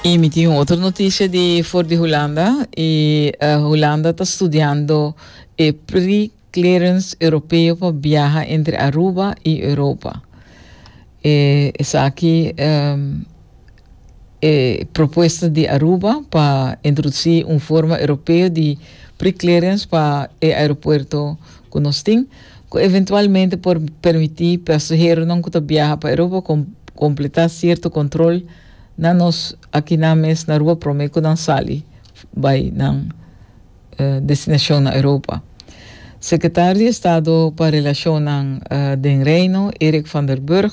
Y mi tin un otro noticia di for di Hulanda y Hulanda ta studiando e pre-clearance europeo pa biaha entre Aruba y Europa. E esaki e propuesta di Aruba pa introduci un forma europeo di pre-clearance pa e aeropuerto cu nos tin, cu eventualmente por permiti pasaheronan cu ta biaha pa Europa completa cierto control na nos akinan mes na Aruba prome cu nan sali bay nan destinacion na Europa. Secretario di Estado pa Relacionnan den Reino, Eric van der Burg,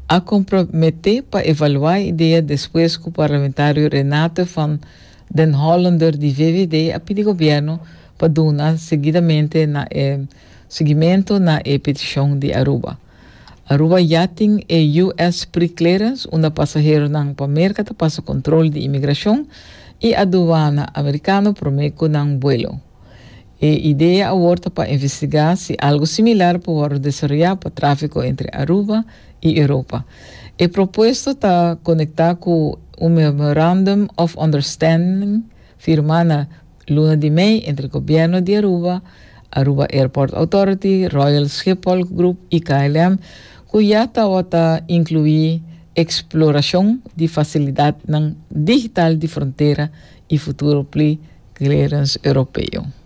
a compromete pa evalua e idea despues cu parlamentario Renate van den Hollander di VVD a pidi gobierno pa duna seguidamente na e seguimento na e peticion di Aruba. Aruba ya tin e US Pre-Clearance unda pasaheronan pa Merca ta pasa control di inmigracion y aduana Americano prome cu nan buelo. E idea awor ta pa investiga si algo similar por wordo desaroya pa trafico entre Aruba y Europa. E propuesto ta conecta cu un Memorandum of Understanding firma na luna di mei entre Gobierno di Aruba, Aruba Airport Authority, Royal Schiphol Group y KLM cu ya tawata inclui exploracion di facilidadnan digital di frontera y futuro pli clearance Europeo.